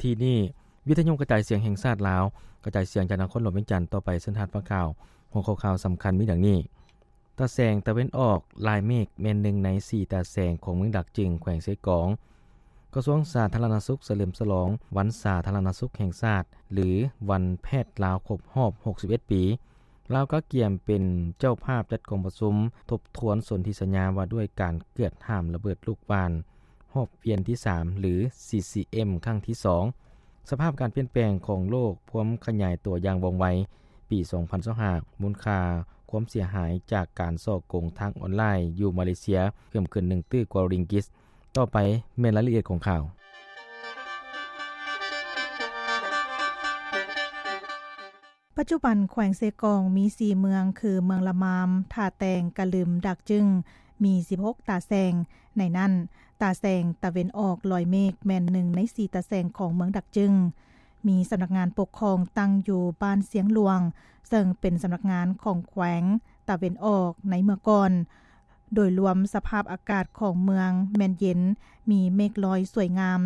ທີ່ນີ້ ວິທະຍຸກະຈາຍສຽງແຫ່ງຊາດລາວ ກະຈາຍສຽງຈາກນະຄອນຫຼວງວຽງຈັນຕໍ່ໄປເຊີນທ່ານຟັງຂ່າວ. ຫົວຂໍ້ຂ່າວສຳຄັນມີດັ່ງນີ້: ຕາແສງຕາເວັນອອກລາຍເມກແມ່ນໜຶ່ງໃນສີ່ຕາແສງຂອງເມືອງດາກຈຶງ ແຂວງເຊກອງ. ກະຊວງສາທາລະນະສຸກສະເຫຼີມສະຫຼອງວັນສາທາລະນະສຸກແຫ່ງຊາດ ຫຼື ວັນແພດລາວຄົບຮອບຫົກສິບເອັດປີ. ລາວກະກຽມເປັນເຈົ້າພາບຈັດກອງປະຊຸມທົບທວນສົນທິສັນຍາວ່າດ້ວຍການກວດຫ້າມລະເບີດລູກຫວ່ານຮອບວຽນທີສາມ ຫຼື ຊີຊີເອັມ ຄັ້ງທີສອງ. ສະພາບການປ່ຽນແປງຂອງໂລກ ຄວາມຂະຫຍາຍຕົວຢ່າງວ່ອງໄວ. ປີສອງພັນຊາວຫ້າ ມູນຄ່າຄວາມເສຍຫາຍຈາກການສໍ້ໂກງທາງອອນລາຍຢູ່ມາເລເຊຍເພີ່ມຂຶ້ນໜຶ່ງຕື້ກວ່າຣິງກິດ. ຕໍ່ໄປແມ່ນລາຍລະອຽດຂອງຂ່າວ. ປັດຈຸບັນແຂວງເຊກອງມີສີ່ເມືອງ ຄື ເມືອງລະມາມ, ທ່າແຕງ, ກະລຶມ, ດາກຈຶງ ມີສິບຫົກຕາແສງ. ໃນນັ້ນ ຕາແສງຕາເວັນອອກລອຍເມກແມ່ນໜຶ່ງໃນສີ່ຕາແສງຂອງເມືອງດາກຈຶງ. ມີສຳນັກງານປົກຄອງຕັ້ງຢູ່ບ້ານຊຽງຫຼວງ ເຊິ່ງເປັນສຳນັກງານຂອງແຂວງຕາເວັນອອກໃນເມື່ອກ່ອນ. ໂດຍລວມສະພາບອາກາດຂອງເມືອງແມ່ນເຢັນ, ມີເມກລອຍສວຍງາມ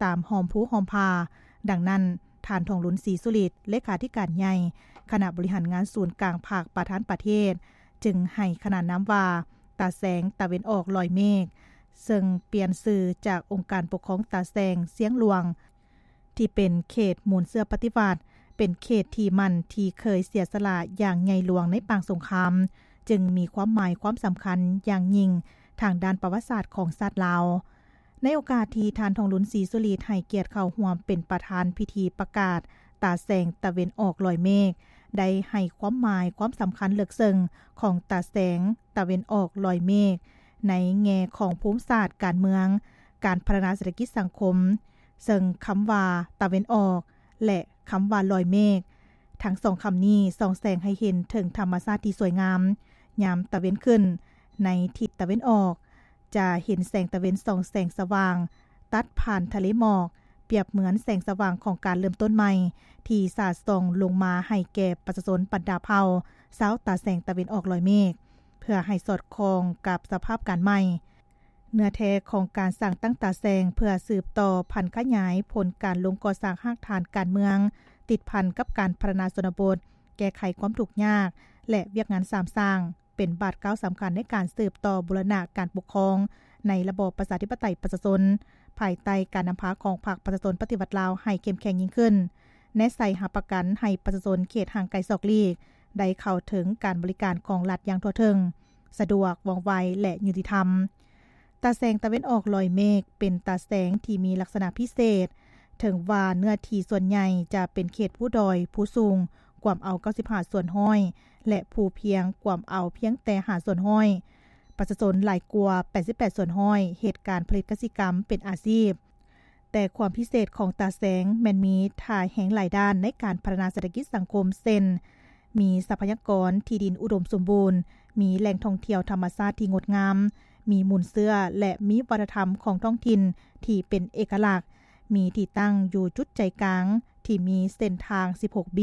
ຕາມຮ່ອມພູຮ່ອມຜາ. ດັ່ງນັ້ນ ທ່ານ ທອງລຸນ ສີສຸລິດ ເລຂາທິການໃຫຍ່ຄະນະບໍລິຫານງານສູນກາງພັກປະທານປະເທດ ຈຶ່ງໃຫ້ຂະໜານນາມວ່າ ຕາແສງຕາເວັນອອກລອຍເມກ, ເຊິ່ງປ່ຽນຊື່ຈາກອົງການປົກຄອງຕາແສງຊຽງຫຼວງ ທີ່ເປັນເຂດມູນເຊື້ອປະຕິວັດ, ເປັນເຂດທີ່ໝັ້ນທີ່ເຄີຍເສຍສະຫຼະຢ່າງໃຫຍ່ຫຼວງໃນປາງສົງຄາມ, ຈຶ່ງມີຄວາມໝາຍຄວາມສຳຄັນຢ່າງຍິ່ງທາງດ້ານປະຫວັດສາດຂອງຊາດລາວ. ໃນໂອກາດທີ່ທ່ານ ທອງລຸນ ສີສຸລິດ ໃຫ້ກຽດເຂົ້າຮ່ວມເປັນປະທານພິທີປະກາດຕາແສງຕາເວັນອອກລອຍເມກ, ໄດ້ໃຫ້ຄວາມໝາຍຄວາມສຳຄັນເລິກເຊິ່ງຂອງຕາແສງຕາເວັນອອກລອຍເມກ ໃນແງ່ຂອງພູມສາດການເມືອງ, ການພັດທະນາເສດຖະກິດສັງຄົມ, ເຊິ່ງຄຳວ່າຕາເວັນອອກ ແລະ ຄຳວ່າລອຍເມກ ທັງສອງຄຳນີ້ສ່ອງແສງໃຫ້ເຫັນເຖິງທຳມະຊາດທີ່ສວຍງາມ. ຍາມຕາເວັນຂຶ້ນໃນທິດຕາເວັນອອກ ຈະເຫັນແສງຕາເວັນສ່ອງແສງສະຫວ່າງ ຕັດຜ່ານທະເລໝອກ, ປຽບເໝືອນແສງສະຫວ່າງຂອງການເລີ່ມຕົ້ນໃໝ່ ທີ່ສາດສ່ອງລົງມາໃຫ້ແກ່ປະຊາຊົນບັນດາເຜົ່າຊາວຕາແສງຕາເວັນອອກລອຍເມກ, ເພື່ອໃຫ້ສອດຄ່ອງກັບສະພາບການໃໝ່. ເນື້ອແທ້ຂອງການສ້າງຕັ້ງຕາແສງ ເພື່ອສືບຕໍ່ຜັນຂະຫຍາຍຜົນການລົງກໍ່ສ້າງຮາກຖານການເມືອງ ຕິດພັນກັບການພັດທະນາຊົນນະບົດ, ແກ້ໄຂຄວາມທຸກຍາກ ແລະ ວຽກງານສາມສ້າງ ເປັນບາດກ້າວສຳຄັນໃນການສືບຕໍ່ບູລະນະການປົກຄອງໃນລະບອບປະຊາທິປະໄຕປະຊາຊົນ, ພາຍໃຕ້ການນຳພາຂອງພັກປະຊາຊົນປະຕິວັດລາວໃຫ້ເຂັ້ມແຂງຍິ່ງຂຶ້ນ, ແນໃສ່ຮັບປະກັນໃຫ້ປະຊາຊົນເຂດຫ່າງໄກສອກຫຼີກ ໄດ້ເຂົ້າເຖິງການບໍລິການຂອງລັດຢ່າງທົ່ວເຖິງ, ສະດວກ, ວ່ອງໄວ ແລະ ຍຸຕິທຳ. ຕາແສງຕາເວັນອອກລອຍເມກ ເປັນຕາແສງທີ່ມີລັກສະນະພິເສດ. ເຖິງວ່າເນື້ອທີ່ສ່ວນໃຫຍ່ຈະເປັນເຂດພູດອຍ, ພູສູງ ກວມເອົາເກົ້າສິບຫ້າສ່ວນຮ້ອຍ ແລະ ພູພຽງ ກວມເອົາພຽງແຕ່ຫ້າສ່ວນຮ້ອຍ. ປະຊາຊົນຫຼາຍກວ່າແປດສິບແປດສ່ວນຮ້ອຍເຮັດການຜະລິດກະສິກຳເປັນອາຊີບ. ແຕ່ຄວາມພິເສດຂອງຕາແສງແມ່ນມີທ່າແຮງຫຼາຍດ້ານໃນການພັດທະນາເສດຖະກິດສັງຄົມ ເຊັ່ນ ມີຊັບພະຍາກອນທີ່ດິນອຸດົມສົມບູນ, ມີແຫຼ່ງທ່ອງທ່ຽວທຳມະຊາດທີ່ງົດງາມ, ມີມູນເຊື້ອ ແລະ ມີວັດທະນະທຳຂອງທ້ອງຖິ່ນທີ່ເປັນເອກະລັກ, ມີທີ່ຕັ້ງຢູ່ຈຸດໃຈກາງທີ່ມີເສັ້ນທາງສິບຫົກບ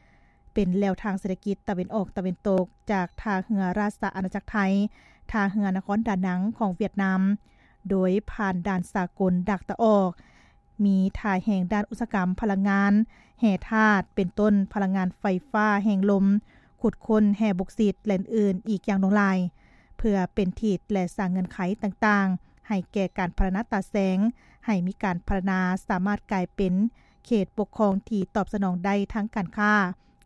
ີ, ເປັນແລວທາງເສດຖະກິດຕາເວັນອອກຕາເວັນຕົກ ຈາກທ່າເຮືອລາຊະອານາຈັກໄທ, ທ່າເຮືອນະຄອນດານັງຂອງຫວຽດນາມ, ໂດຍຜ່ານດ່ານສາກົນດາກຕາອອກ, ມີທ່າແຮງດ້ານອຸດສາຫະກຳພະລັງງານ, ແຮ່ທາດ ເປັນຕົ້ນພະລັງງານໄຟຟ້າແຮງລົມ, ຂຸດຄົ້ນແຮ່ບົກຊິດ ແລະ ອື່ນໆອີກຢ່າງຫຼວງຫຼາຍ, ເພື່ອເປັນທິດ ແລະ ສ້າງເງື່ອນໄຂຕ່າງໆໃຫ້ແກ່ການພັດທະນາຕາແສງ, ໃຫ້ມີການພັດທະນາສາມາດກາຍເປັນເຂດປົກຄອງທີ່ຕອບສະໜອງໄດ້ທາງການຄ້າ,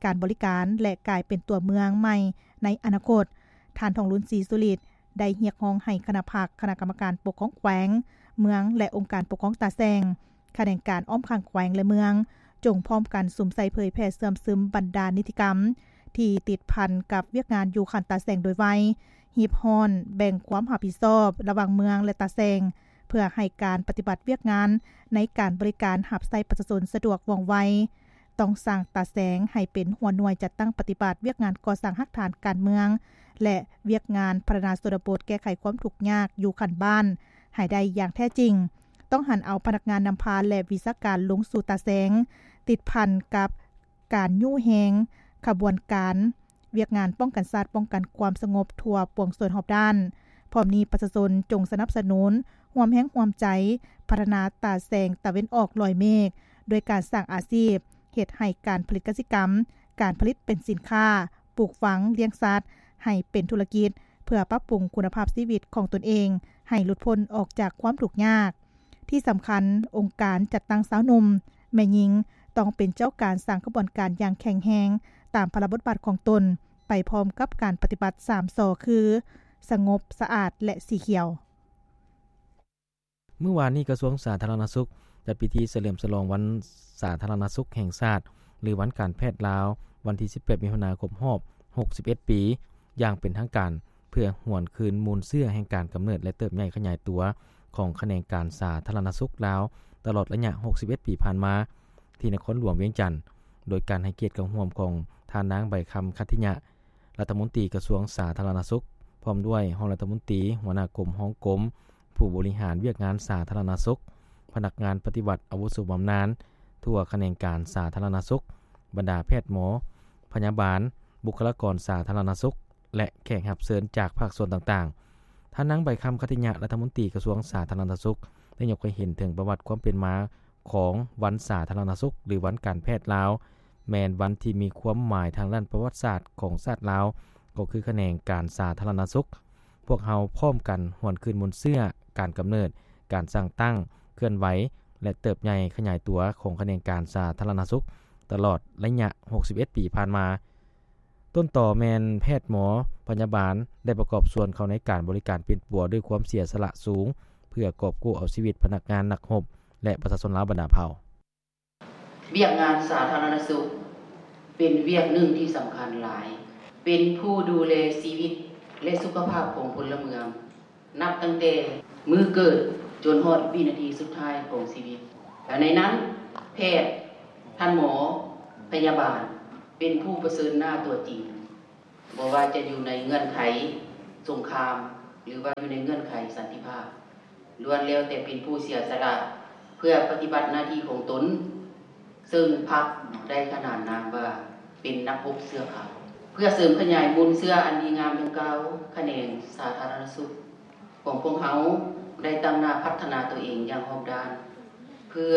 ການບໍລິການ ແລະ ກາຍເປັນຕົວເມືອງໃໝ່ໃນອະນາຄົດ. ທ່ານ ທອງລຸນ ສີສຸລິດ ໄດ້ຮຽກຮ້ອງໃຫ້ຄະນະພັກ, ຄະນະກຳມະການປົກຄອງແຂວງ, ເມືອງ ແລະ ອົງການປົກຄອງຕາແສງ, ຂະແໜງການອ້ອມຂ້າງແຂວງ ແລະ ເມືອງ ຈົ່ງພ້ອມກັນສຸມໃສ່ເຜີຍແຜ່ເຊື່ອມຊຶມບັນດານິຕິກຳທີ່ຕິດພັນກັບວຽກງານຢູ່ຂັ້ນຕາແສງໂດຍໄວ, ຮີບຮ້ອນແບ່ງຄວາມຮັບຜິດຊອບລະຫວ່າງເມືອງ ແລະ ຕາແສງ, ເພື່ອໃຫ້ການປະຕິບັດວຽກງານໃນການບໍລິການຮັບໃຊ້ປະຊາຊົນສະດວກວ່ອງໄວ. ຕ້ອງສ້າງຕາແສງໃຫ້ເປັນຫົວໜ່ວຍຈັດຕັ້ງປະຕິບັດວຽກງານກໍ່ສ້າງຮາກຖານການເມືອງ ແລະ ວຽກງານພັດທະນາຊົນນະບົດແກ້ໄຂຄວາມທຸກຍາກຢູ່ຂັ້ນບ້ານໃຫ້ໄດ້ຢ່າງແທ້ຈິງ. ຕ້ອງຫັນເອົາພະນັກງານນຳພາ ແລະ ວິຊາການລົງສູ່ຕາແສງ, ຕິດພັນກັບການຍູ້ແຮງຂະບວນການວຽກງານປ້ອງກັນຊາດ, ປ້ອງກັນຄວາມສະຫງົບທົ່ວປວງຊົນຮອບດ້ານ. ພ້ອມນີ້ປະຊາຊົນຈົ່ງສະໜັບສະໜູນ, ຮ່ວມແຮງຮ່ວມໃຈພັດທະນາຕາແສງຕາເວັນອອກລອຍເມກ ດ້ວຍການສ້າງອາຊີບ, ເຮັດໃຫ້ການຜະລິດກະສິກຳ, ການຜະລິດເປັນສິນຄ້າ, ປູກຝັງ, ລ້ຽງສັດ ໃຫ້ເປັນທຸລະກິດ ເພື່ອປັບປຸງຄຸນນະພາບຊີວິດຂອງຕົນເອງ ໃຫ້ຫຼຸດພົ້ນອອກຈາກຄວາມທຸກຍາກ. ທີ່ສຳຄັນ, ອົງການຈັດຕັ້ງຊາວໜຸ່ມ, ແມ່ຍິງ ຕ້ອງເປັນເຈົ້າການສ້າງຂະບວນການຢ່າງແຂງແຮງ ຕາມພາລະບົດບາດຂອງຕົນ, ໄປພ້ອມກັບການປະຕິບັດສາມ ຊ ຄື ສະຫງົບ, ສະອາດ ແລະ ສີຂຽວ. ມື້ວານນີ້ ກະຊວງສາທາລະນະສຸກ ຈັດພິທີສະເຫຼີມສະຫຼອງວັນສາທາລະນະສຸກແຫ່ງຊາດ ຫຼື ວັນການແພດລາວ ວັນທີສິບແປດ ມິຖຸນາ ຄົບຮອບ ຫົກສິບເອັດ ປີ ຢ່າງເປັນທາງການ ເພື່ອຫວນຄືນມູນເຊື້ອແຫ່ງການກຳເນີດ ແລະ ເຕີບໃຫຍ່ຂະຫຍາຍຕົວຂອງຂະແໜງການສາທາລະນະສຸກລາວ ຕະຫຼອດໄລຍະ ຫົກສິບເອັດ ປີຜ່ານມາ ທີ່ນະຄອນຫຼວງວຽງຈັນ, ໂດຍການໃຫ້ກຽດເຂົ້າຮ່ວມຂອງທ່ານນາງ ໃບຄຳ ຂັດທິຍະ ລັດຖະມົນຕີກະຊວງສາທາລະນະສຸກ, ພ້ອມດ້ວຍຮອງລັດຖະມົນຕີ, ຫົວໜ້າກົມ, ຮອງກົມ, ຜູ້ບໍລິຫານວຽກງານສາທາລະນະສຸກ, ພະນັກງານປະຕິບັດອາວຸໂສບຳນານທົ່ວຂະແໜງການສາທາລະນະສຸກ, ບັນດາແພດໝໍ, ພະຍາບານ, ບຸກຄະລາກອນສາທາລະນະສຸກ ແລະ ແຂກຮັບເຊີນຈາກພາກສ່ວນຕ່າງໆ. ທ່ານນາງ ໃບຄຳ ຂັດທິຍະ ລັດຖະມົນຕີກະຊວງສາທາລະນະສຸກ ໄດ້ຍົກໃຫ້ເຫັນເຖິງປະຫວັດຄວາມເປັນມາຂອງວັນສາທາລະນະສຸກ ຫຼື ວັນການແພດລາວ, ແມ່ນວັນທີ່ມີຄວາມໝາຍທາງດ້ານປະຫວັດສາດຂອງຊາດລາວ ກໍຄືຂະແໜງການສາທາລະນະສຸກ. ພວກເຮົາພ້ອມກັນຫວນຄືນມູນເຊື້ອ, ການກຳເນີດ, ການສ້າງຕັ້ງ, ເຄື່ອນໄຫວ ແລະ ເຕີບໃຫຍ່ຂະຫຍາຍຕົວຂອງຂະແໜງການສາທາລະນະສຸກ ຕະຫຼອດໄລຍະ ຫົກສິບເອັດ ປີຜ່ານມາ. ຕົ້ນຕໍແມ່ນແພດໝໍ, ພະຍາບານ ໄດ້ປະກອບສ່ວນເຂົ້າໃນການບໍລິການປິ່ນປົວດ້ວຍຄວາມເສຍສະຫຼະສູງ ເພື່ອກອບກູ້ເອົາຊີວິດພະນັກງານ, ນັກຮົບ ແລະ ປະຊາຊົນລາວບັນດາເຜົ່າ. ວຽກງານສາທາລະນະສຸກເປັນວຽກໜຶ່ງທີ່ສຳຄັນຫຼາຍ, ເປັນຜູ້ດູແລຊີວິດ ແລະ ສຸຂະພາບຂອງພົນລະເມືອງ ນັບຕັ້ງແຕ່ມື້ເກີດຈົນຮອດວິນາທີສຸດທ້າຍຂອງຊີວິດ. ແລະ ໃນນັ້ນ ແພດ, ທ່ານໝໍ, ພະຍາບານ ເປັນຜູ້ປະເຊີນໜ້າຕົວຈິງ, ບໍ່ວ່າຈະຢູ່ໃນເງື່ອນໄຂສົງຄາມ ຫຼືວ່າຢູ່ໃນເງື່ອນໄຂສັນຕິພາບ ລ້ວນແລ້ວແຕ່ເປັນຜູ້ເສຍສະຫຼະເພື່ອປະຕິບັດໜ້າທີ່ຂອງຕົນ, ເຊິ່ງພັກໄດ້ຂະໜານນາມວ່າເປັນນັກຮົບເສື້ອຂາວ. ເພື່ອເສີມຂະຫຍາຍມູນເຊື້ອອັນດີງາມດັ່ງກ່າວ, ຂະແໜງສາທາລະນະສຸກຂອງພວກເຮົາໄດ້ຕັ້ງໜ້າພັດທະນາຕົວເອງຢ່າງຮອບດ້ານ ເພື່ອ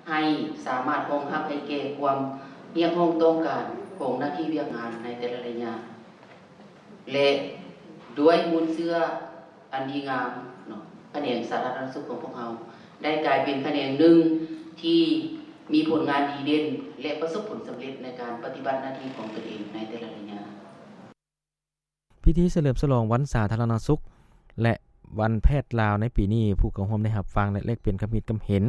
ໃຫ້ສາມາດຮອງຮັບໃຫ້ແກ່ຄວາມຮຽກຮ້ອງຕ້ອງການຂອງໜ້າທີ່ວຽກງານໃນແຕ່ລະໄລຍະ ແລະ ດ້ວຍມູນເຊື້ອອັນດີງາມເນາະ, ຂະແໜງສາທາລະນະສຸກຂອງພວກເຮົາໄດ້ກາຍເປັນຂະແໜງໜຶ່ງທີ່ມີຜົນງານດີເດັ່ນ ແລະ ປະສົບຜົນສຳເລັດໃນການປະຕິບັດໜ້າທີ່ຂອງຕົນເອງໃນແຕ່ລະໄລຍະ. ພິທີສະເຫຼີມສະຫຼອງວັນສາທາລະນະສຸກ ແລະ ວັນແພດລາວໃນປີນີ້, ຜູ້ເຂົ້າຮ່ວມໄດ້ຮັບຟັງ ແລະ ແລກປ່ຽນຄຳຄິດຄຳເຫັນ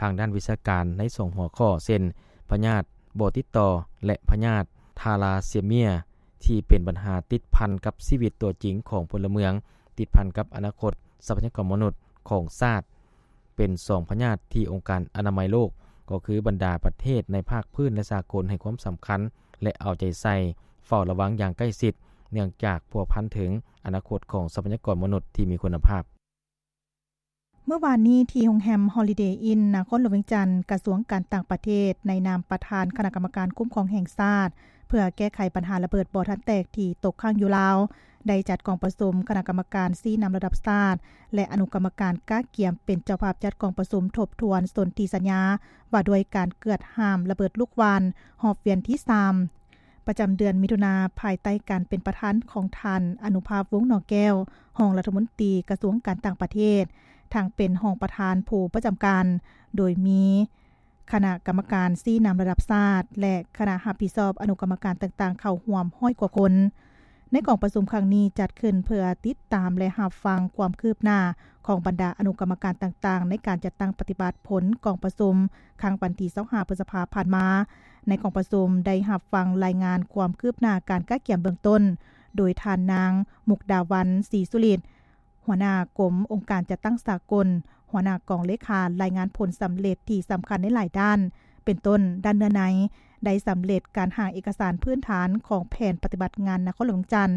ທາງດ້ານວິຊາການໃນສອງຫົວຂໍ້ ເຊັ່ນ ພະຍາດບໍ່ຕິດຕໍ່ ແລະ ພະຍາດທາລາເຊເມຍ ທີ່ເປັນບັນຫາຕິດພັນກັບຊີວິດຕົວຈິງຂອງພົນລະເມືອງ, ຕິດພັນກັບອະນາຄົດຊັບພະຍາກອນມະນຸດຂອງຊາດ. ເປັນສອງພະຍາດທີ່ອົງການອະນາໄມໂລກ, ກໍຄືບັນດາປະເທດໃນພາກພື້ນ ແລະ ສາກົນ ໃຫ້ຄວາມສຳຄັນ ແລະ ເອົາໃຈໃສ່ເຝົ້າລະວັງຢ່າງໃກ້ຊິດ, ເນື່ອງຈາກພົວພັນເຖິງອະນາຄົດຂອງຊັບພະຍາກອນມະນຸດທີ່ມີຄຸນນະພາບ. ເມື່ອວານນີ້ ທີ່ໂຮງແຮມ Holiday Inn ນະຄອນຫຼວງວຽງຈັນ, ກະຊວງການຕ່າງປະເທດ ໃນນາມປະທານຄະນະກຳມະການຄຸ້ມຄອງແຫ່ງຊາດ ເພື່ອແກ້ໄຂບັນຫາລະເບີດບໍ່ທັນແຕກທີ່ຕົກຄ້າງຢູ່ລາວ ໄດ້ຈັດກອງປະຊຸມຄະນະກຳມະການຊີ້ນຳລະດັບຊາດ ແລະ ອະນຸກຳມະການກະກຽມເປັນເຈົ້າພາບຈັດກອງປະຊຸມທົບທວນສົນທິສັນຍາວ່າດ້ວຍການກວດຫ້າມລະເບີດລູກຫວ່ານຮອບວຽນທີສາມ ປະຈຳເດືອນມິຖຸນາ ພາຍໃຕ້ການເປັນປະທານຂອງທ່ານ ອະນຸພາບ ວົງໜໍແກ້ວ ຮອງລັດຖະມົນຕີກະຊວງການຕ່າງປະເທດ ທັງເປັນຮອງປະທານຜູ້ປະຈຳການ, ໂດຍມີ ຄະນະກຳມະການຊີ້ນຳລະດັບຊາດ ແລະ ຄະນະຮັບຜິດຊອບອະນຸກຳມະການຕ່າງໆ ເຂົ້າຮ່ວມຮ້ອຍກວ່າຄົນ. ໃນກອງປະຊຸມຄັ້ງນີ້ຈັດຂຶ້ນເພື່ອຕິດຕາມ ແລະ ຮັບຟັງຄວາມຄືບໜ້າຂອງບັນດາອະນຸກຳມະການຕ່າງໆ ໃນການຈັດຕັ້ງປະຕິບັດຜົນກອງປະຊຸມຄັ້ງວັນທີຊາວຫ້າ ພຶດສະພາຜ່ານມາ. ໃນກອງປະຊຸມໄດ້ຮັບຟັງລາຍງານຄວາມຄືບໜ້າການກະກຽມເບື້ອງຕົ້ນ ໂດຍທ່ານນາງ ມຸກດາວັນ ສີສຸລິດ ຫົວໜ້າກົມອົງການຈັດຕັ້ງສາກົນ, ຫົວໜ້າກອງເລຂາ ລາຍງານຜົນສຳເລັດທີ່ສຳຄັນໃນຫຼາຍດ້ານ, ເປັນຕົ້ນ ດ້ານເນື້ອໃນ, ໄດ້ສຳເລັດການຮ່າງເອກະສານພື້ນຖານຂອງແຜນປະຕິບັດງານນະຄອນຫຼວງວຽງຈັນ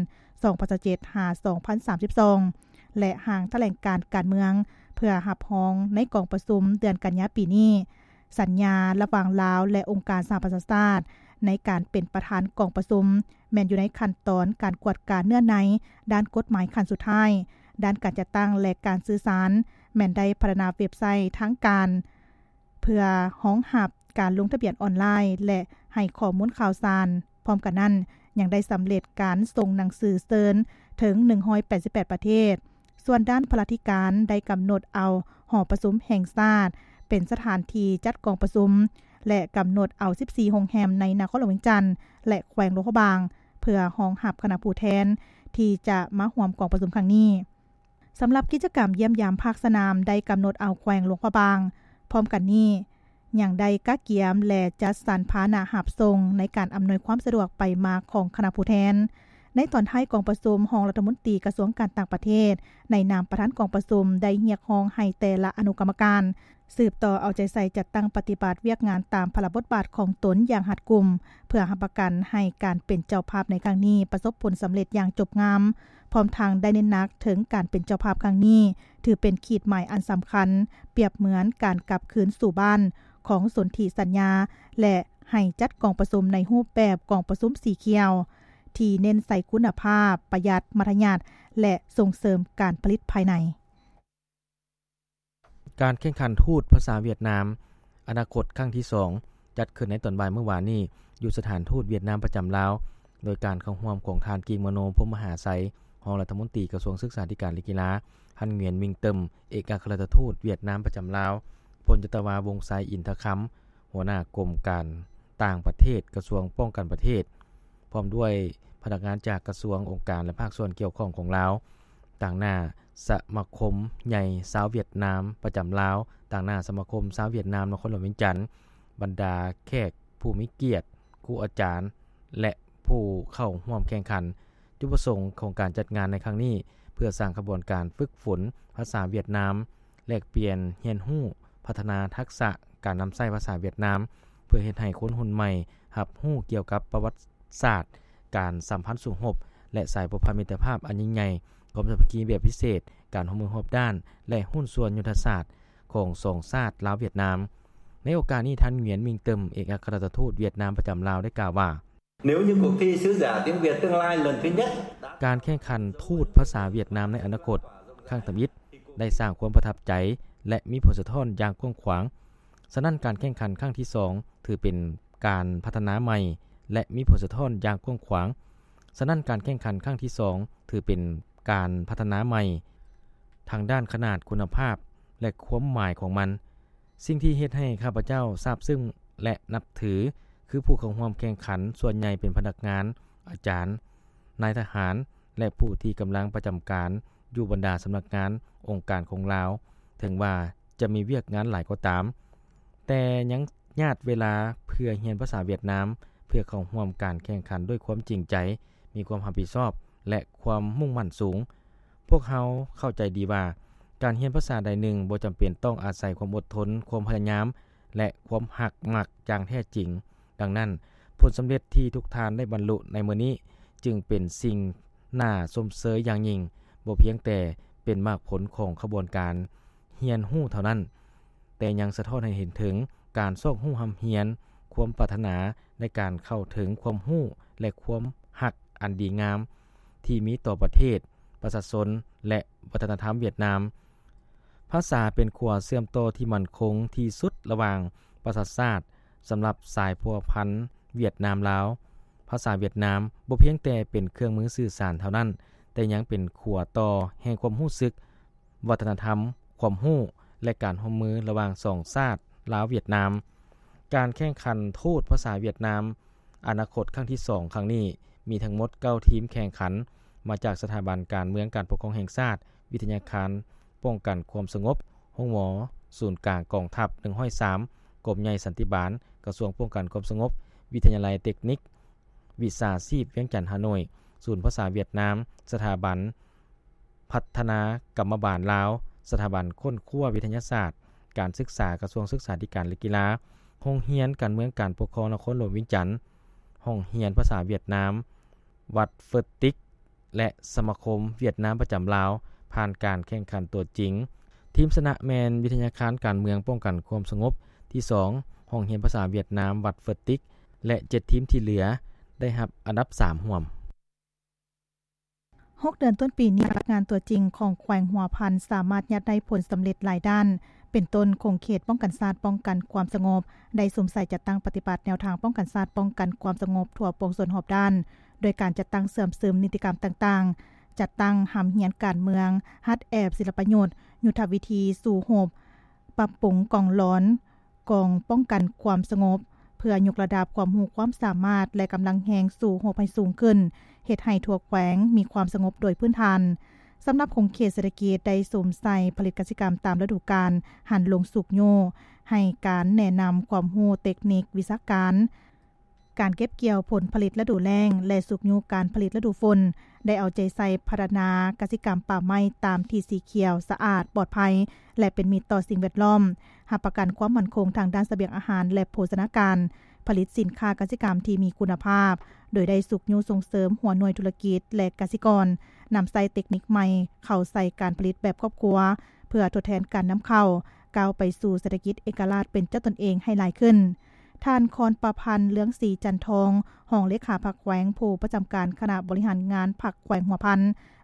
ສອງພັນຊາວເຈັດ ຫາ ສອງພັນສາມສິບສອງ ແລະ ຮ່າງຖະແຫຼງການການເມືອງ ເພື່ອຮັບຮອງໃນກອງປະຊຸມເດືອນກັນຍາປີນີ້. ສັນຍາລະຫວ່າງລາວ ແລະ ອົງການສະຫະປະຊາຊາດ ໃນການເປັນປະທານກອງປະຊຸມ ແມ່ນຢູ່ໃນຂັ້ນຕອນການກວດກາເນື້ອໃນດ້ານກົດໝາຍຂັ້ນສຸດທ້າຍ. ດ້ານການຈັດຕັ້ງ ແລະ ການສື່ສານ ແມ່ນໄດ້ພັດທະນາເວັບໄຊທາງການ ເພື່ອຮອງຮັບການລົງທະບຽນອອນລາຍ ແລະ ໃຫ້ຂໍ້ມູນຂ່າວສານ. ພ້ອມກັນນັ້ນ, ຍັງໄດ້ສຳເລັດການສົ່ງໜັງສືເຊີນເຖິງໜຶ່ງຮ້ອຍແປດສິບແປດປະເທດ. ສ່ວນດ້ານພະລາທິການໄດ້ກຳນົດເອົາຫໍປະຊຸມແຫ່ງຊາດເປັນສະຖານທີ່ຈັດກອງປະຊຸມ ແລະ ກຳນົດເອົາສິບສີ່ໂຮງແຮມໃນນະຄອນຫຼວງວຽງຈັນ ແລະ ແຂວງຫຼວງພະບາງ ເພື່ອຮອງຮັບຄະນະຜູ້ແທນທີ່ຈະມາຮ່ວມກອງປະຊຸມຄັ້ງນີ້. ສຳລັບກິດຈະກຳຢ້ຽມຢາມພາກສະໜາມໄດ້ກຳນົດເອົາແຂວງຫຼວງພະບາງ. ພ້ອມກັນນີ້, ຍັງໄດ້ກະກຽມ ແລະ ຈັດສັນພາຫະນະຮັບສົ່ງໃນການອຳນວຍຄວາມສະດວກໄປມາຂອງຄະນະຜູ້ແທນ. ໃນຕອນທ້າຍກອງປະຊຸມ, ຮອງລັດຖະມົນຕີກະຊວງການຕ່າງປະເທດ ໃນນາມປະທານກອງປະຊຸມ ໄດ້ຮຽກຮ້ອງໃຫ້ແຕ່ລະອະນຸກຳມະການ ສືບຕໍ່ເອົາໃຈໃສ່ຈັດຕັ້ງປະຕິບັດວຽກງານຕາມພາລະບົດບາດຂອງຕົນຢ່າງຮັດກຸມ ເພື່ອຮັບປະກັນໃຫ້ການເປັນເຈົ້າພາບໃນຄັ້ງນີ້ປະສົບຜົນສຳເລັດຢ່າງຈົບງາມ. ພ້ອມທັງໄດ້ເນັ້ນໜັກເຖິງການເປັນເຈົ້າພາບຄັ້ງນີ້ ຖືເປັນຂີດໝາຍອັນສຳຄັນ ປຽບເໝືອນການກັບຄືນສູ່ບ້ານຂອງສົນທິສັນຍາ ແລະ ໃຫ້ຈັດກອງປະຊຸມໃນຮູບແບບກອງປະຊຸມສີຂຽວ ທີ່ເນັ້ນໃສ່ຄຸນນະພາບ, ປະຢັດມັດທະຍັດ ແລະ ສົ່ງເສີມການຜະລິດພາຍໃນ. ການແຂ່ງຂັນທູດພາສາຫວຽດນາມອະນາຄົດຄັ້ງທີສອງ ຈັດຂຶ້ນໃນຕອນບ່າຍມື້ວານນີ້ ຢູ່ສະຖານທູດຫວຽດນາມປະຈຳລາວ ໂດຍການເຂົ້າຮ່ວມຂອງທ່ານ ກິງມະໂນ ພົມມະຫາໄຊ ຮອງລັດຖະມົນຕີກະຊວງສຶກສາທິການ ແລະ ກິລາ, ທ່ານ ຫງວຽນ ມິງເຕີມ ເອກອັກຄະລັດຖະທູດຫວຽດນາມປະຈຳລາວ, ພົນຈັດຕະວາ ວົງໄຊ ອິນທະຄຳ ຫົວໜ້າກົມການຕ່າງປະເທດ ກະຊວງປ້ອງກັນປະເທດ ພ້ອມດ້ວຍພະນັກງານຈາກກະຊວງ, ອົງການ ແລະ ພາກສ່ວນກ່ຽວຂ້ອງຂອງລາວ, ຕາງໜ້າສະມາຄົມໃຫຍ່ຊາວຫວຽດນາມປະຈຳລາວ, ຕາງໜ້າສະມາຄົມຊາວຫວຽດນາມນະຄອນຫຼວງວຽງຈັນ, ບັນດາແຂກຜູ້ມີກຽດ, ຄູອາຈານ ແລະ ຜູ້ເຂົ້າຮ່ວມແຂ່ງຂັນ. ຈຸດປະສົງຂອງການຈັດງານໃນຄັ້ງນີ້ ເພື່ອສ້າງຂະບວນການຝຶກຝົນພາສາຫວຽດນາມ, ແລກປ່ຽນຮຽນຮູ້, ພັດທະນາທັກສະການນຳໃຊ້ພາສາຫວຽດນາມ ເພື່ອເຮັດໃຫ້ຄົນຮຸ່ນໃໝ່ຮັບຮູ້ກ່ຽວກັບປະຫວັດສາດ, ການສຳພັນສູງຮົບ ແລະ ສາຍພົວພັນມິດຕະພາບອັນຍິ່ງໃຫຍ່, ຄວາມສາມັກຄີແບບພິເສດ, ການຮ່ວມມືຮອບດ້ານ ແລະ ຫຸ້ນສ່ວນຍຸດທະສາດຂອງສອງຊາດລາວ-ຫວຽດນາມ. ໃນໂອກາດນີ້, ທ່ານ ຫງວຽນ ມິງເຕີມ ເອກອັກຄະລັດຖະທູດຫວຽດນາມປະຈຳລາວ ໄດ້ກ່າວວ່າ, 「Nếu như cuộc thi sứ giả tiếng Việt tương lai lần thứ nhất đã ການແຂ່ງຂັນທູດພາສາຫວຽດນາມໃນອະນາຄົດຄັ້ງທຳອິດ ໄດ້ສ້າງຄວາມປະທັບໃຈ ແລະ ມີຜົນສະທ້ອນຢ່າງກວ້າງຂວາງ. ສະນັ້ນ, ການແຂ່ງຂັນຄັ້ງທີສອງ ຖືເປັນການພັດທະນາໃໝ່ ແລະ ມີຜົນສະທ້ອນຢ່າງກວ້າງຂວາງ. ສະນັ້ນ, ການແຂ່ງຂັນຄັ້ງທີສອງ ຖືເປັນການພັດທະນາໃໝ່ ທາງດ້ານຂະໜາດ, ຄຸນນະພາບ ແລະ ຄວາມໝາຍຂອງມັນ. ສິ່ງທີ່ເຮັດໃຫ້ຂ້າພະເຈົ້າຊາບຊຶ້ງ ແລະ ນັບຖື ຄືຜູ້ເຂົ້າຮ່ວມແຂ່ງຂັນສ່ວນໃຫຍ່ເປັນພະນັກງານ, ອາຈານ, ນາຍທະຫານ ແລະ ຜູ້ທີ່ກຳລັງປະຈຳການຢູ່ບັນດາສຳນັກງານ, ອົງການຂອງລາວ. ເຖິງວ່າຈະມີວຽກງານຫຼາຍກໍຕາມ, ແຕ່ຍັງຍາດເວລາເພື່ອຮຽນພາສາຫວຽດນາມ, ເພື່ອເຂົ້າຮ່ວມການແຂ່ງຂັນດ້ວຍຄວາມຈິງໃຈ, ມີຄວາມຮັບຜິດຊອບ ແລະ ຄວາມມຸ່ງໝັ້ນສູງ. ພວກເຮົາເຂົ້າໃຈດີວ່າ ການຮຽນພາສາໃດໜຶ່ງບໍ່ຈຳເປັນຕ້ອງອາໄສຄວາມອົດທົນ, ຄວາມພະຍາຍາມ ແລະ ຄວາມຮັກມັກຢ່າງແທ້ຈິງ. ດັ່ງນັ້ນ, ຜົນສຳເລັດທີ່ທຸກທ່ານໄດ້ບັນລຸໃນມື້ນີ້ ຈຶ່ງເປັນສິ່ງໜ້າຊົມເຊີຍຢ່າງຍິ່ງ, ບໍ່ພຽງແຕ່ເປັນໝາກຜົນຂອງຂະບວນການຮຽນຮູ້ເທົ່ານັ້ນ, ແຕ່ຍັງສະທ້ອນໃຫ້ເຫັນເຖິງການຊອກຮູ້ຮ່ຳຮຽນ, ຄວາມປາດຖະໜາໃນການເຂົ້າເຖິງຄວາມຮູ້ ແລະ ຄວາມຮັກອັນດີງາມທີ່ມີຕໍ່ປະເທດ, ປະຊາຊົນ ແລະ ວັດທະນະທຳຫວຽດນາມ. ພາສາເປັນຂົວເຊື່ອມຕໍ່ທີ່ໝັ້ນຄົງທີ່ສຸດລະຫວ່າງປະຊາຊາດ. ສຳລັບສາຍພົວພັນຫວຽດນາມ-ລາວ, ພາສາຫວຽດນາມບໍ່ພຽງແຕ່ເປັນເຄື່ອງມືສື່ສານເທົ່ານັ້ນ, ແຕ່ຍັງເປັນຂົວຕໍ່ແຫ່ງຄວາມຮູ້ສຶກ, ວັດທະນະທຳ, ຄວາມຮູ້ ແລະ ການຮ່ວມມືລະຫວ່າງສອງຊາດລາວ-ຫວຽດນາມ. ການແຂ່ງຂັນທູດພາສາຫວຽດນາມອະນາຄົດຄັ້ງທີສອງຄັ້ງນີ້ ມີທັງໝົດເກົ້າທີມແຂ່ງຂັນ, ມາຈາກສະຖາບັນການເມືອງການປົກຄອງແຫ່ງຊາດ, ວິທະຍາຄານປ້ອງກັນຄວາມສະຫງົບ, ໂຮງໝໍ, ສູນກາງກອງທັບໜຶ່ງຮ້ອຍສາມ, ກົມໃຫຍ່ສັນຕິບານ, ກະຊວງປ້ອງກັນຄວາມສະຫງົບ, ວິທະຍາໄລເຕັກນິກ, ວິຊາຊີບວຽງຈັນ ຮ່າໂນ້ຍ, ສູນພາສາຫວຽດນາມ, ສະຖາບັນພັດທະນາກຳມະບານລາວ, ສະຖາບັນຄົ້ນຄວ້າວິທະຍາສາດການສຶກສາ ກະຊວງສຶກສາທິການ ແລະ ກິລາ, ໂຮງຮຽນການເມືອງການປົກຄອງນະຄອນຫຼວງວຽງຈັນ, ຫ້ອງຮຽນພາສາຫວຽດນາມ, ວັດເຟີດຕິກ ແລະ ສະມາຄົມຫວຽດນາມປະຈຳລາວ ຜ່ານການແຂ່ງຂັນຕົວຈິງ. ທີມຊະນະແມ່ນວິທະຍາຄານການເມືອງປ້ອງກັນຄວາມສະຫງົບທີສອງ, ຫ້ອງຮຽນພາສາຫວຽດນາມວັດເຟີດຕິກ ແລະ ເຈັດທີມທີ່ເຫຼືອໄດ້ຮັບອັນດັບສາມຮ່ວມ. ຫົກເດືອນຕົ້ນປີນີ້, ພະນັກງານຕົວຈິງຂອງແຂວງຫົວພັນສາມາດຍາດໄດ້ຜົນສຳເລັດຫຼາຍດ້ານ, ເປັນຕົ້ນ ຂົງເຂດປ້ອງກັນຊາດ ປ້ອງກັນຄວາມສະຫງົບ ໄດ້ສຸມໃສ່ຈັດຕັ້ງປະຕິບັດແນວທາງປ້ອງກັນຊາດ ປ້ອງກັນຄວາມສະຫງົບທົ່ວປວງຊົນຮອບດ້ານ ໂດຍການຈັດຕັ້ງເຊື່ອມຊຶມນິຕິກຳຕ່າງໆ, ຈັດຕັ້ງຮ່ຳຮຽນການເມືອງ, ຫັດແອບສິລະປະຍຸດ, ຍຸດທະວິທີສູ້ຮົບ, ປັບປຸງກອງລອນ, ກອງປ້ອງກັນຄວາມສະຫງົບ ເພື່ອຍົກລະດັບຄວາມຮູ້ຄວາມສາມາດ ແລະ ກຳລັງແຮງສູ້ຮົບໃຫ້ສູງຂຶ້ນ, ເຮັດໃຫ້ທົ່ວແຂວງມີຄວາມສະຫງົບໂດຍພື້ນຖານ. ສຳລັບຂົງເຂດເສດຖະກິດໄດ້ສຸມໃສ່ຜະລິດກະສິກຳຕາມລະດູການ, ຫັນລົງຊຸກຍູ້ໃຫ້ການແນະນຳຄວາມຮູ້ເຕັກນິກວິຊາການ, ການເກັບກ່ຽວຜົນຜະລິດລະດູແລ້ງ ແລະ ຊຸກຍູ້ການຜະລິດລະດູຝົນ, ໄດ້ເອົາໃຈໃສ່ພັດທະນາກະສິກຳປ່າໄມ້ຕາມທີ່ສີຂຽວ, ສະອາດ, ປອດໄພ ແລະ ເປັນມິດຕໍ່ສິ່ງແວດລ້ອມ, ຮັບປະກັນຄວາມໝັ້ນຄົງທາງດ້ານສະບຽງອາຫານ ແລະ ໂພຊະນາການ, ຜະລິດສິນຄ້າກະສິກຳທີ່ມີຄຸນນະພາບ, ໂດຍໄດ້ຊຸກຍູ້ສົ່ງເສີມຫົວໜ່ວຍທຸລະກິດ ແລະ ກະສິກອນ ນຳໃຊ້ເຕັກນິກໃໝ່ເຂົ້າໃສ່ການຜະລິດແບບຄອບຄົວ ເພື່ອທົດແທນການນຳເຂົ້າ, ກ້າວໄປສູ່ເສດຖະກິດເອກະລາດເປັນເຈົ້າຕົນເອງໃຫ້ຫຼາຍຂຶ້ນ. ທ່ານ ຄອນປະພັນ ເລື່ອງສີຈັນທອງ, ຮອງເລຂາພັກແຂວງ, ຜູ້ປະຈຳການຄະນະບໍລິຫານງານພັກແຂວງຫົວພັນ,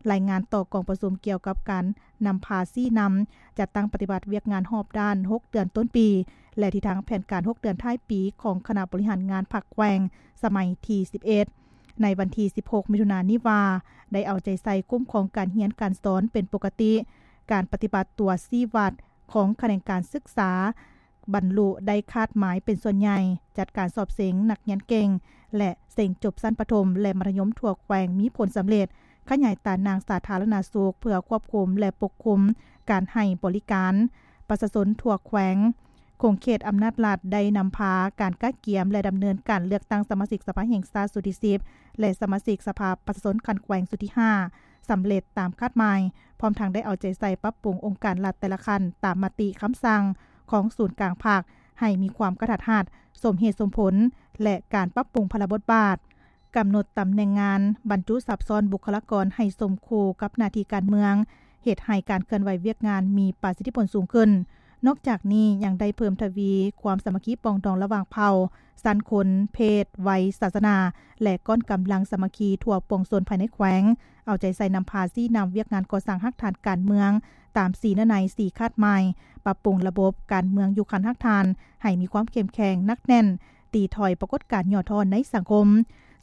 ລາຍງານຕໍ່ກອງປະຊຸມກ່ຽວກັບການນຳພາຊີ້ນຳ ຈັດຕັ້ງປະຕິບັດວຽກງານຮອບດ້ານຫົກເດືອນຕົ້ນປີ ແລະ ທິດທາງແຜນການຫົກເດືອນທ້າຍປີຂອງຄະນະບໍລິຫານງານພັກແຂວງສະໄໝທີສິບເອັດ ໃນວັນທີສິບຫົກ ມິຖຸນານີ້ວ່າ ໄດ້ເອົາໃຈໃສ່ຄຸ້ມຄອງການຮຽນການສອນເປັນປົກກະຕິ, ການປະຕິບັດຕົວຊີ້ວັດຂອງຂະແໜງການສຶກສາ ບັນລຸໄດ້ຄາດໝາຍເປັນສ່ວນໃຫຍ່, ຈັດການສອບເສັງນັກຮຽນເກັ່ງ ແລະ ເສັງຈົບຊັ້ນປະຖົມ ແລະ ມັດທະຍົມທົ່ວແຂວງມີຜົນສຳເລັດ, ຂະຫຍາຍຕາໜ່າງສາທາລະນະສຸກເພື່ອຄວບຄຸມ ແລະ ປົກຄຸມການໃຫ້ບໍລິການປະຊາຊົນທົ່ວແຂວງ. ຂົງເຂດອຳນາດລັດໄດ້ນຳພາການກະກຽມ ແລະ ດຳເນີນການເລືອກຕັ້ງສະມາຊິກສະພາແຫ່ງຊາດຊຸດທີສິບ ແລະ ສະມາຊິກສະພາປະຊາຊົນຂັ້ນແຂວງຊຸດທີຫ້າ ສຳເລັດຕາມຄາດໝາຍ, ພ້ອມທັງໄດ້ເອົາໃຈໃສ່ປັບປຸງອົງການລັດແຕ່ລະຂັ້ນຕາມມະຕິຄຳສັ່ງຂອງສູນກາງພັກ ໃຫ້ມີຄວາມກະທັດຮັດ, ສົມເຫດສົມຜົນ ແລະ ການປັບປຸງພາລະບົດບາດ, ກຳນົດຕຳແໜ່ງງານ, ບັນຈຸສັບຊ້ອນບຸກຄະລາກອນໃຫ້ສົມຄູ່ກັບໜ້າທີ່ການເມືອງ, ເຮັດໃຫ້ການເຄື່ອນໄຫວວຽກງານມີປະສິດທິຜົນສູງຂຶ້ນ. ນອກຈາກນີ້ຍັງໄດ້ເພີ່ມທະວີຄວາມສາມັກຄີປອງດອງລະຫວ່າງເຜົ່າ, ຊັ້ນຄົນ, ເພດ, ໄວ, ສາສະໜາ ແລະ ກ້ອນກຳລັງສາມັກຄີທົ່ວປວງຊົນພາຍໃນແຂວງ, ເອົາໃຈໃສ່ນຳພາຊີ້ນຳວຽກງານກໍ່ສ້າງຮາກຖານການເມືອງຕາມສີ່ເນື້ອໃນ, ສີ່ຄາດໝາຍ, ປັບປຸງລະບົບການເມືອງຢູ່ຂັ້ນຮາກຖານໃຫ້ມີຄວາມເຂັ້ມແຂງ, ໜັກແໜ້ນ, ຕີຖອຍປາກົດການຫຍໍ້ທໍ້ໃນສັງຄົມ.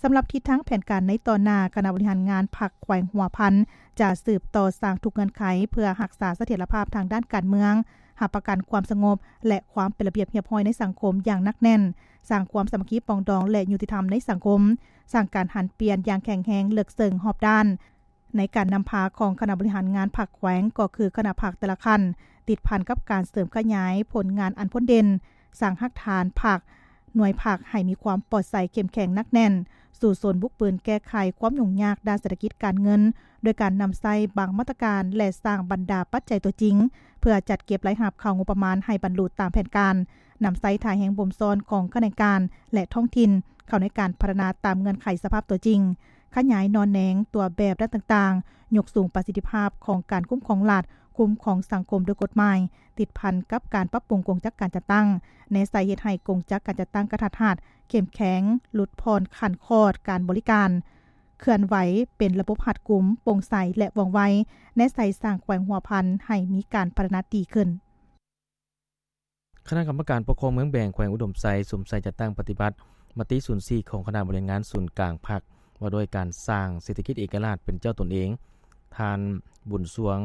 ສຳລັບທິດທາງແຜນການໃນຕໍ່ໜ້າ, ຄະນະບໍລິຫານງານພັກແຂວງຫົວພັນ ຈະສືບຕໍ່ສ້າງທຸກເງື່ອນໄຂເພື່ອຮັກສາສະຖຽນລະພາບທາງດ້ານການເມືອງ, ຮັບປະກັນຄວາມສະຫງົບ ແລະ ຄວາມເປັນລະບຽບຮຽບຮ້ອຍໃນສັງຄົມຢ່າງໜັກແໜ້ນ, ສ້າງຄວາມສາມັກຄີປອງດອງ ແລະ ຍຸຕິທຳໃນສັງຄົມ, ສ້າງການຫັນປ່ຽນຢ່າງແຂງແຮງເລິກເຊິ່ງຮອບດ້ານ. ໃນການນຳພາຂອງຄະນະບໍລິຫານງານພັກແຂວງ ກໍຄືຄະນະພັກແຕ່ລະຂັ້ນ, ຕິດພັນກັບການເສີມຂະຫຍາຍຜົນງານອັນພົ້ນເດັ່ນ, ສ້າງຮາກຖານພັກ, ໜ່ວຍພັກໃຫ້ມີຄວາມປອດໃສເຂັ້ມແຂງໜັກແໜ້ນ, ສູ້ຊົນບຸກບືນແກ້ໄຂຄວາມຫຍຸ້ງຍາກດ້ານເສດຖະກິດການເງິນ ໂດຍການນຳໃຊ້ບາງມາດຕະການ ແລະ ສ້າງບັນດາປັດໄຈຕົວຈິງ ເພື່ອຈັດເກັບລາຍຮັບເຂົ້າງົບປະມານໃຫ້ບັນລຸຕາມແຜນການ, ນຳໃຊ້ທ່າແຮງບົ່ມຊ້ອນຂອງຂະແໜງການ ແລະ ທ້ອງຖິ່ນ ເຂົ້າໃນການພັດທະນາຕາມເງື່ອນໄຂສະພາບຕົວຈິງ, ຂະຫຍາຍໜໍ່ແໜງຕົວແບບດ້ານຕ່າງໆ, ຍົກສູງປະສິດທິພາບຂອງການຄຸ້ມຄອງລັດ, ຄຸ້ມຄອງສັງຄົມໂດຍກົດໝາຍ, ຕິດພັນກັບການປັບປຸງກົງຈັກການຈັດຕັ້ງ, ແນໃສ່ເຮັດໃຫ້ກົງຈັກການຈັດຕັ້ງກະທັດຮັດ, ເຂັ້ມແຂງ, ຫຼຸດຜ່ອນຂັ້ນຂອດການບໍລິການ, ເຄື່ອນໄຫວເປັນລະບົບຮັດກຸມ, ໂປ່ງໃສ ແລະ ວ່ອງໄວ, ແນໃສ່ສ້າງແຂວງຫົວພັນໃຫ້ມີການພັດທະນາດີຂຶ້ນ. ຄະນະກຳມະການປົກຄອງເມືອງແບງ ແຂວງອຸດົມໄຊ ສຸມໃສ່ຈັດຕັ້ງປະຕິບັດມະຕິສູນສີ່ຂອງຄະນະບໍລິຫານງານສູນກາງພັກ ວ່າດ້ວຍການສ້າງເສດຖະກິດເອກະລາດເປັນເຈົ້າຕົນເອງ. ທ່ານ ບຸນສວງ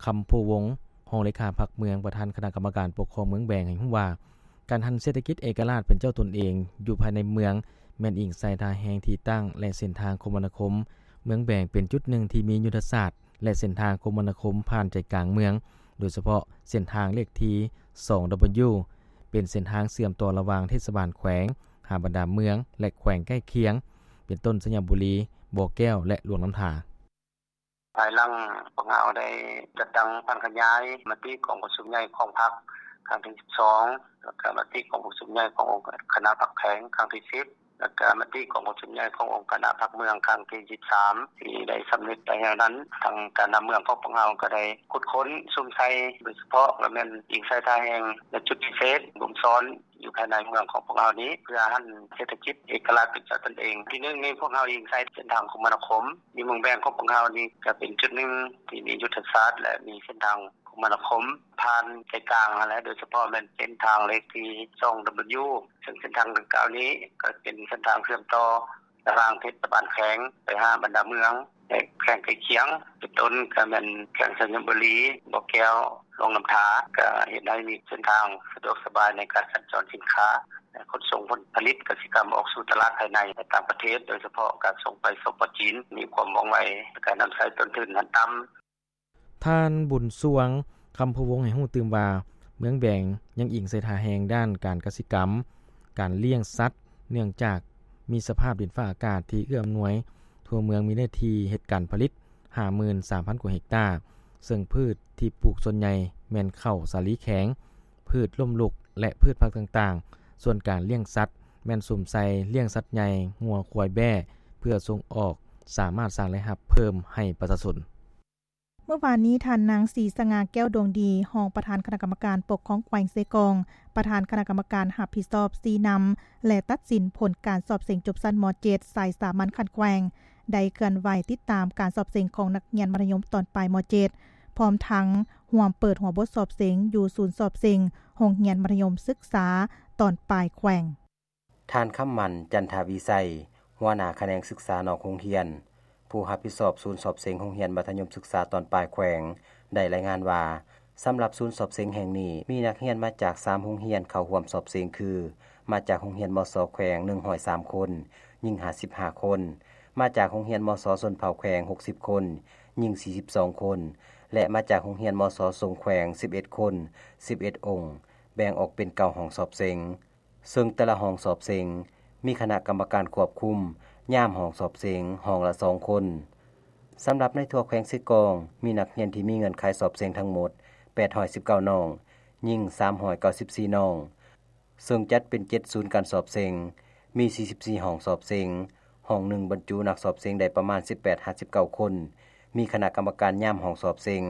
ຄຳໂພວົງ ຮອງເລຂາພັກເມືອງ ປະທານຄະນະກຳມະການປົກຄອງເມືອງແບງ ໃຫ້ຮູ້ວ່າ ການຫັນເສດຖະກິດເອກະລາດເປັນເຈົ້າຕົນເອງຢູ່ພາຍໃນເມືອງ ແມ່ນອີງໃສ່ທ່າແຮງທີ່ຕັ້ງ ແລະ ເສັ້ນທາງຄົມມະນາຄົມ. ເມືອງແບງເປັນຈຸດໜຶ່ງທີ່ມີຍຸດທະສາດ ແລະ ເສັ້ນທາງຄົມມະນາຄົມຜ່ານໃຈກາງເມືອງ, ໂດຍສະເພາະເສັ້ນທາງເລກທີ ສອງ W ເປັນເສັ້ນທາງເຊື່ອມຕໍ່ລະຫວ່າງເທດສະບານແຂວງຫາບັນດາເມືອງ ແລະ ແຂວງໃກ້ຄຽງ ເປັນຕົ້ນ ໄຊຍະບູລີ, ບໍ່ແກ້ວ ແລະ ຫຼວງນ້ຳທາ. ພາຍຫຼັງພວກເຮົາໄດ້ຈັດຕັ້ງຜັນຂະຫຍາຍມະຕິກອງປະຊຸມໃຫຍ່ຂອງພັກຄັ້ງທີສິບສອງ ແລ້ວກະມະຕິກອງປະຊຸມໃຫຍ່ຂອງອົງຄະນະພັກແຂວງຄັ້ງທີສິບ ແລ້ວກະມະຕິກອງປະຊຸມໃຫຍ່ຂອງອົງຄະນະພັກເມືອງຄັ້ງທີສິບສາມ ທີ່ໄດ້ສຳເລັດໄປແລ້ວນັ້ນ, ທາງການນຳເມືອງຂອງພວກເຮົາກໍໄດ້ຂຸດຄົ້ນສຸມໃສ່ ໂດຍສະເພາະກໍແມ່ນອີງໃສ່ທ່າແຮງ ແລະ ຈຸດພິເສດບົ່ມຊ້ອນ ຢູ່ພາຍໃນເມືອງຂອງພວກເຮົານີ້ ເພື່ອຫັນເສດຖະກິດເອກະລາດເປັນເຈົ້າຕົນເອງ. ທີໜຶ່ງນີ້ພວກເຮົາອີງໃສ່ເສັ້ນທາງຄົມມະນາຄົມ ຢູ່ເມືອງແບງຂອງພວກເຮົານີ້ ກະເປັນຈຸດໜຶ່ງທີ່ມີຍຸດທະສາດ ແລະ ມີເສັ້ນທາງ ຄົມມະນາຄົມ ຜ່ານໃຈກາງຫັ້ນແຫຼະ ໂດຍສະເພາະແມ່ນເສັ້ນທາງເລກທີ ສອງ W ເຊິ່ງເສັ້ນທາງດັ່ງກ່າວນີ້ ກໍເປັນເສັ້ນທາງເຊື່ອມຕໍ່ ລະຫວ່າງເທດສະບານແຂວງໄປຫາບັນດາເມືອງ ແລະ ແຂວງໃກ້ຄຽງ ເປັນຕົ້ນກໍແມ່ນແຂວງໄຊຍະບູລີ, ບໍ່ແກ້ວ, ຫຼວງນ້ຳທາ ກໍເຮັດໃຫ້ມີເສັ້ນທາງສະດວກສະບາຍໃນການສັນຈອນສິນຄ້າ ແລະ ຂົນສົ່ງຜົນຜະລິດກະສິກຳອອກສູ່ຕະຫຼາດພາຍໃນ ແລະ ຕ່າງປະເທດ ໂດຍສະເພາະການສົ່ງໄປ ສປ ຈີນ ມີຄວາມວ່ອງໄວ ແລະ ການນຳໃຊ້ຕົ້ນທຶນຫັ້ນຕ່ຳ. ທ່ານ ບຸນຊ່ວງ ຄຳພູວົງ ໃຫ້ຮູ້ຕື່ມວ່າ ເມືອງແບງ ຍັງອີງໃສ່ທ່າແຮງດ້ານການກະສິກຳ, ການລ້ຽງສັດ ເນື່ອງຈາກມີສະພາບດິນຟ້າອາກາດທີ່ເອື້ອອຳນວຍ, ທົ່ວເມືອງມີເນື້ອທີ່ເຮັດການຜະລິດ ຫ້າໝື່ນສາມພັນກວ່າເຮັກຕາ, ເຊິ່ງພືດທີ່ປູກສ່ວນໃຫຍ່ແມ່ນເຂົ້າສາລີແຂງ, ພືດລົ້ມລຸກ ແລະ ພືດຜັກຕ່າງໆ, ສ່ວນການລ້ຽງສັດ ແມ່ນສຸມໃສ່ລ້ຽງສັດໃຫຍ່, ງົວ, ຄວາຍ, ແບ້ ເພື່ອສົ່ງອອກ, ສາມາດສ້າງລາຍຮັບເພີ່ມໃຫ້ປະຊາຊົນ. ເມື່ອວານນີ້ ທ່ານນາງ ສີສະຫງ່າ ແກ້ວດວງດີ ຮອງປະທານຄະນະກຳມະການປົກຄອງແຂວງເຊກອງ, ປະທານຄະນະກຳມະການຮັບຜິດຊອບຊີ້ນຳ ແລະ ຕັດສິນຜົນການສອບເສັງຈົບຊັ້ນ ມ.ເຈັດ ສາຍສາມັນຂັ້ນແຂວງ ໄດ້ເຄື່ອນໄຫວຕິດຕາມການສອບເສັງຂອງນັກຮຽນມັດທະຍົມຕອນປາຍ ມ.ເຈັດ ພ້ອມທັງຮ່ວມເປີດຫົວບົດສອບເສັງຢູ່ສູນສອບເສັງໂຮງຮຽນມັດທະຍົມສຶກສາຕອນປາຍແຂວງ. ທ່ານ ຄຳໝັ້ນ ຈັນທະວິໄສ ຫົວໜ້າຂະແໜງສຶກສານອກໂຮງຮຽນ, ຜູ້ຮັບຜິດຊອບສູນສອບເສັງໂຮງຮຽນມັດທະຍົມສຶກສາຕອນປາຍແຂວງ ໄດ້ລາຍງານວ່າ ສຳລັບສູນສອບເສັງແຫ່ງນີ້ ມີນັກຮຽນມາຈາກສາມໂຮງຮຽນເຂົ້າຮ່ວມສອບເສັງຄື ມາຈາກໂຮງຮຽນ ມສ ແຂວງ ໜຶ່ງຮ້ອຍສາມຄົນ, ຍິງ ຫ້າສິບຫ້າຄົນ, ມາຈາກໂຮງຮຽນ ມສ ຊົນເຜົ່າແຂວງ ຫົກສິບຄົນ, ຍິງ ສີ່ສິບສອງຄົນ ແລະ ມາຈາກໂຮງຮຽນ ມສ ສົງແຂວງ ສິບເອັດຄົນ, ສິບເອັດອົງ, ແບ່ງອອກເປັນເກົ້າຫ້ອງສອບເສັງ. ເຊິ່ງແຕ່ລະຫ້ອງສອບເສັງ ມີຄະນະກຳມະການຄວບຄຸມ ຍາມຫ້ອງສອບເສັງຫ້ອງລະສອງຄົນ. ສຳລັບໃນທົ່ວແຂວງເຊກອງ ມີນັກຮຽນທີ່ມີເງື່ອນໄຂສອບເສັງທັງໝົດ ແປດຮ້ອຍສິບເກົ້ານ້ອງ, ຍິງ ສາມຮ້ອຍເກົ້າສິບສີ່ນ້ອງ, ເຊິ່ງຈັດເປັນເຈັດສູນການສອບເສັງ, ມີ ສີ່ສິບສີ່ຫ້ອງສອບເສັງ, ຫ້ອງໜຶ່ງບັນຈຸນັກສອບເສັງໄດ້ປະມານ ສິບແປດຫາສິບເກົ້າຄົນ, ມີຄະນະກຳມະການຍາມຫ້ອງສອບເສັງ